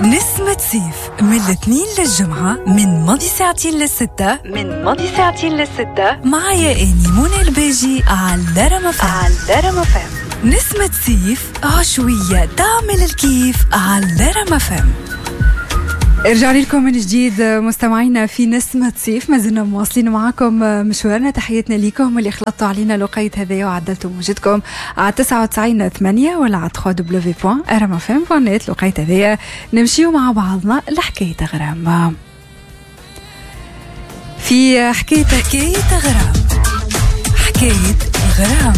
نسمة صيف من الاثنين للجمعة من ماضي ساعتين للستة، من ماضي ساعتين للستة، معايا أني منى الباجي على رما فام، على رما فام. نسمة صيف عشوية تعمل الكيف على رما فام. رجعنا لكم من جديد مستمعينا في نسمة صيف، ما زلنا مواصلين معاكم مشوارنا. تحياتنا لكم اللي خلطتوا علينا لقيت هذايا وعدلتوا موجتكم على 99.8 ولا على www.rmfm.net. لقيت هذايا نمشيو مع بعضنا لحكاية غرام. في حكاية غرام، حكاية غرام،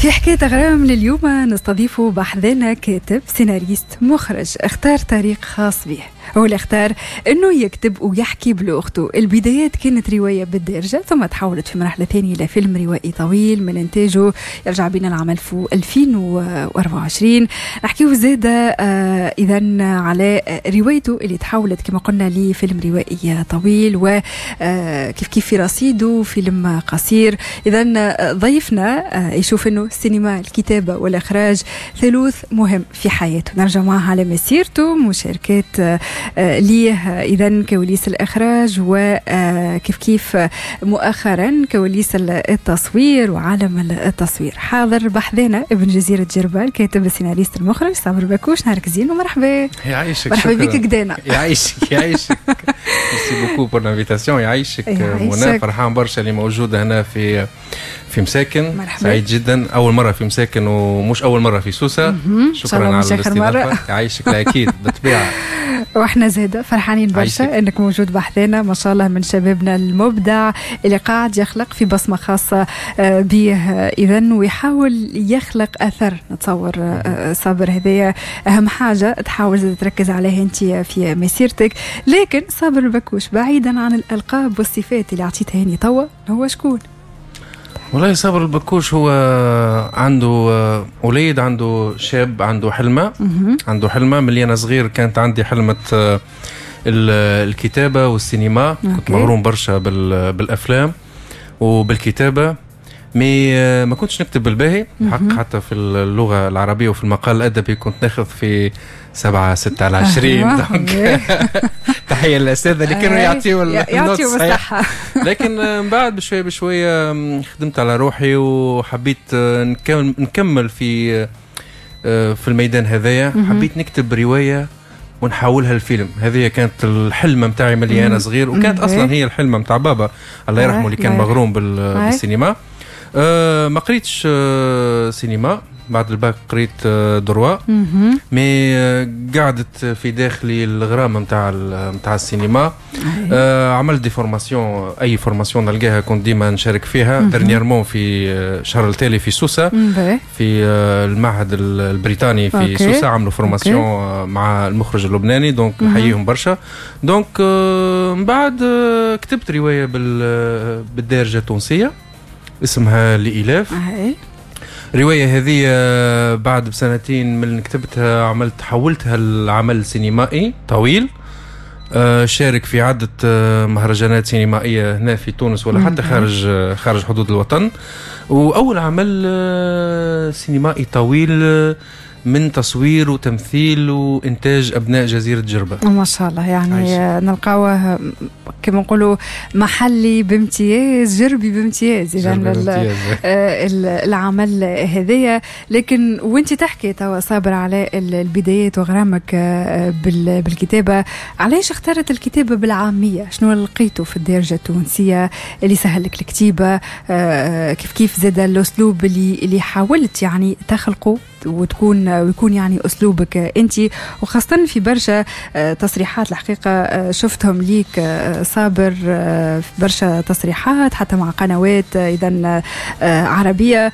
في حكاية غرام لليوم نستضيف بحذنا كاتب سيناريست مخرج اختار طريق خاص به. هو اللي اختار انه يكتب ويحكي بلغته. البدايات كانت رواية بالدارجة، ثم تحولت في مرحلة ثانية الى فيلم روائي طويل من انتاجه يرجع بنا العام 2024. نحكيو زادة اذا على روايته اللي تحولت كما قلنا لفيلم روائي طويل، وكيف كيف في رصيده فيلم قصير. اذا ضيفنا يشوف انه السينما، الكتابة والاخراج ثالوث مهم في حياته. نرجع معها على مسيرته، مشاركات ليه إذا كواليس الإخراج، وكيف كيف مؤخرا كواليس التصوير وعالم التصوير. حاضر بحذانا ابن جزيرة جربة، الكاتب السيناريست المخرج صابر بكوش. نهارك زين ومرحبا. يعيشك. مرحبا بك قدانا. يعيشك يعيشك. merci beaucoup pour l'invitation. يعيشك منى، فرحان برشا اللي موجودة هنا في مساكن. مرحبا. سعيد جدا، أول مرة في مساكن ومش أول مرة في سوسة. شكرا على الاستضافة. يعيشك. أكيد بالطبيعة. واحنا زادة فرحانين برشا انك موجود بحذانا، ما شاء الله من شبابنا المبدع اللي قاعد يخلق في بصمة خاصة به اذا، ويحاول يخلق اثر. نتصور صابر هذايا اهم حاجة تحاول تركز عليها انت في مسيرتك. لكن صابر البكوش بعيدا عن الالقاب والصفات اللي اعطيتها هاني توا، هو شكون؟ والله صابر البكوش هو عنده وليد، عنده شاب، عنده حلمة. عنده حلمة من أنا صغير كانت عندي حلمة الكتابة والسينما. كنت مغروم برشا بالأفلام وبالكتابة، mais ما كنتش نكتب بالباهي حق، حتى في اللغة العربية وفي المقال الأدبي كنت ناخذ في 7 6 على 20. donc تحية للأساتذة اللي كانوا يعطيوا ال note الصحيح. لكن من بعد بشوية بشوية خدمت على روحي وحبيت نكمل في الميدان هذايا. حبيت نكتب رواية ونحولها الفيلم. هذه كانت الحلمة متاعي ملي أنا صغير، وكانت أصلا هي الحلمة متاع بابا الله يرحمه اللي كان مغروم بالسينما. ما قريتش سينما بعد الباك، قريت droit، mais قعدت في داخلي الغرام نتاع السينما. عملت des formations، اي formation نلقاها كنت ديما نشارك فيها. dernièrement في شهر التالي في سوسة، في المعهد البريطاني في سوسة، عملوا formation مع المخرج اللبناني، donc نحييهم برشا. donc من بعد كتبت رواية بالدارجة التونسية اسمها لإلاف. الرواية هذه بعد بسنتين من كتبتها عملت حولتها لعمل سينمائي طويل، شارك في عدة مهرجانات سينمائية هنا في تونس ولا حتى خارج حدود الوطن. وأول عمل سينمائي طويل من تصوير وتمثيل وإنتاج أبناء جزيرة جربة. ما شاء الله، يعني نلقاوه كما نقولوا محلي بامتياز، جربي بامتياز إذا العمل هذايا. لكن وانت تحكي توا صابر على البدايات وغرامك بالكتابة، علاش اختارت الكتابة بالعامية؟ شنو لقيته في الدارجة التونسية اللي سهلك الكتابة؟ كيف كيف زاد الأسلوب اللي حاولت يعني تخلقه ويكون يعني أسلوبك أنت، وخاصة في برشا تصريحات الحقيقة شفتهم ليك صابر، في برشا تصريحات حتى مع قنوات إذا عربية،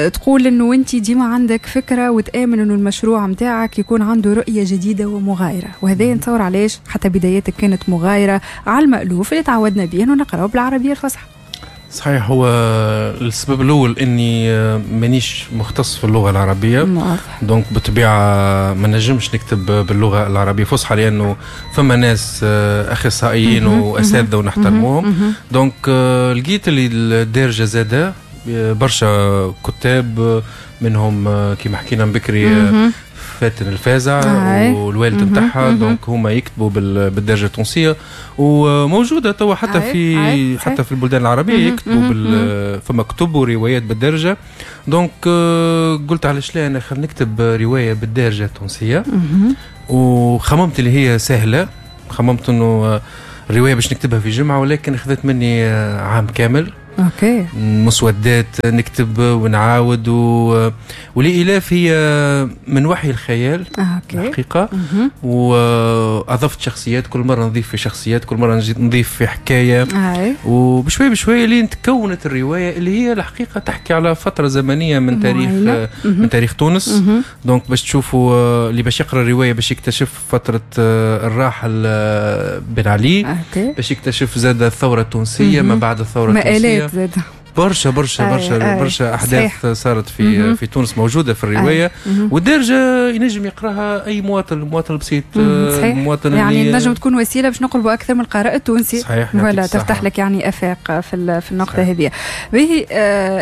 تقول أنه أنت ديما عندك فكرة وتآمن أنه المشروع متاعك يكون عنده رؤية جديدة ومغايرة، وهذا نتصور علاش حتى بداياتك كانت مغايرة على المألوف اللي تعودنا به أنه نقرأه بالعربية الفصحى. صحيح، هو السبب الاول اني مانيش مختص في اللغة العربية، donc بالطبيعة ما نجمش نكتب باللغة العربية فصحى لانه فما ناس اخصائيين واساتذه ونحترموهم. donc لقيت اللي الدارجة زاده برشا كتاب منهم كيما حكينا بكري فاتن الفازع والوالد نتاعها، donc هما يكتبوا بالدارجة التونسية وموجودة توا حتى في حتى في البلدان العربية يكتبوا فما كتب وروايات بالدارجه. donc قلت علاش لا انا خلينا نكتب رواية بالدارجة التونسيه، وخممت اللي هي سهله، خممت انه الرواية باش نكتبها في جمعه، ولكن اخذت مني عام كامل. مسودات نكتب ونعاود ولإلاف هي من وحي الخيال. الحقيقة وأضفت شخصيات، كل مرة نضيف في شخصيات، كل مرة نضيف في حكاية. وبشوي بشوي لين تكونت الرواية اللي هي الحقيقة تحكي على فترة زمنية من تاريخ من تاريخ تونس. donc باش تشوفوا اللي باش يقرأ الرواية باش يكتشف فترة الراحل بن علي، باش يكتشف زاد الثورة التونسية، ما بعد الثورة التونسية، برشا برشا برشا برشا احداث صارت في تونس موجودة في الروايه. والدارجه ينجم يقراها اي مواطن، المواطن البسيط. المواطن يعني نجم تكون وسيلة باش نقربوا اكثر من القارئ التونسي. ولا تفتح لك يعني افاق في النقطة هذه. به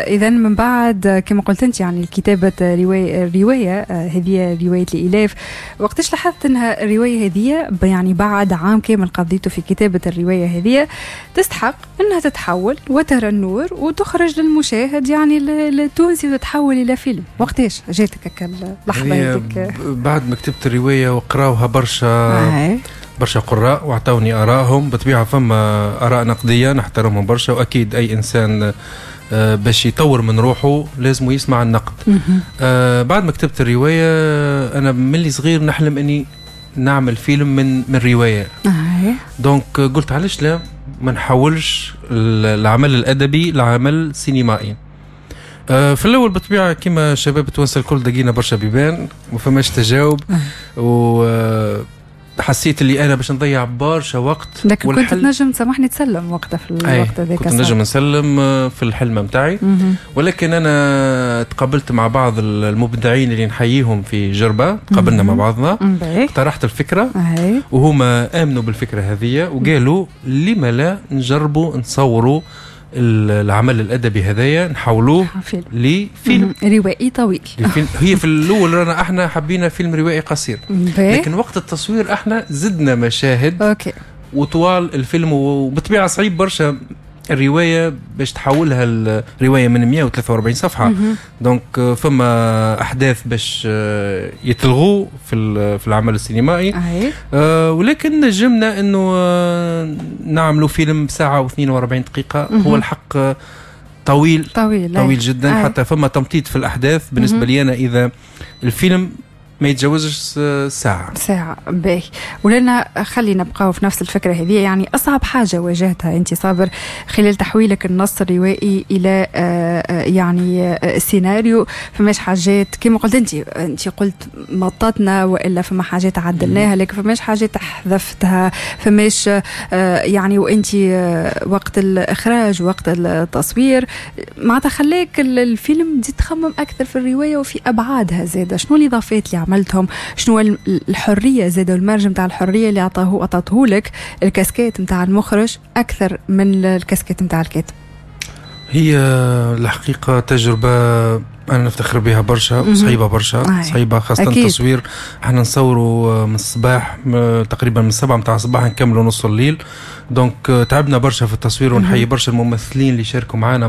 اذا من بعد كما قلت انت يعني كتابه روايه هذه رواية الالاف، وقتاش لاحظت انها الرواية هذه يعني بعد عام كامل قضيته في كتابه الرواية هذه تستحق انها تتحول وترى النور وتخرج للمشاهد يعني التونسي وتتحول الى فيلم؟ وقتاش جاتك اللحظة هذيك؟ بعد ما كتبت الرواية وقراوها برشا برشا قراء واعطوني ارائهم، بطبيعة فما اراء نقدية نحترمهم برشا، واكيد اي انسان باش يطور من روحه لازم يسمع النقد. بعد ما كتبت الرواية انا ملي صغير نحلم اني نعمل فيلم من روايه. donc قلت علاش لا ما نحولش العمل الادبي لعمل سينمائي. في الاول بالطبيعة كما شباب التوانسة الكل دقينا برشا بيبان، ما فماش تجاوب، و حسيت اللي انا باش نضيع برشا وقت. لكن كنت تنجم تسامحني تسلم وقتها في الوقت هذاك؟ كنت نجم نسلم في الحلم نتاعي، ولكن انا تقابلت مع بعض المبدعين اللي نحييهم في جربه، تقابلنا مع بعضنا، اقترحت الفكرة وهما امنوا بالفكرة هذه وقالوا لما لا نجربوا نصوروا العمل الادبي هذايا، نحولوه لفيلم روائي طويل. هي في الاول رانا احنا حبينا فيلم روائي قصير، لكن وقت التصوير احنا زدنا مشاهد وطوال الفيلم، وبطبيعة صعيب برشا الرواية باش تحولها الرواية من 143 صفحه. donc فما احداث باش يتلغوا في العمل السينمائي. ولكن نجمنا انه نعملوا فيلم ساعة و42 دقيقه. هو الحق طويل طويل طويل جدا. حتى فما تمطيط في الاحداث. بالنسبة لي انا اذا الفيلم ما يتجاوزش ساعة. ساعة باهي. ولنا خلينا نبقاو في نفس الفكرة هذه، يعني أصعب حاجة واجهتها أنت صابر خلال تحويلك النص الروائي إلى يعني سيناريو، فماش حاجات كما قلت أنت قلت مططنا وإلا فما حاجات عدلناها، لكن فماش حاجات حذفتها، فماش يعني وأنت وقت الإخراج وقت التصوير معناتها خلاك الفيلم تزيد تخمم أكثر في الرواية وفي أبعادها زادة، شنو الإضافات اللي عملتهم، شنو الحرية زاد وال marge نتاع الحرية اللي عطاته لك الكاسكيت نتاع المخرج اكثر من الكاسكيت نتاع الكاتب؟ هي الحقيقة تجربه انا نفتخر بها برشا، صعيبة برشا، صعيبة خاصة التصوير. احنا نصوروا من الصباح تقريبا من 7 نتاع الصباح نكملوا نص الليل، donc تعبنا برشا في التصوير، ونحيي برشا الممثلين اللي شاركوا معنا.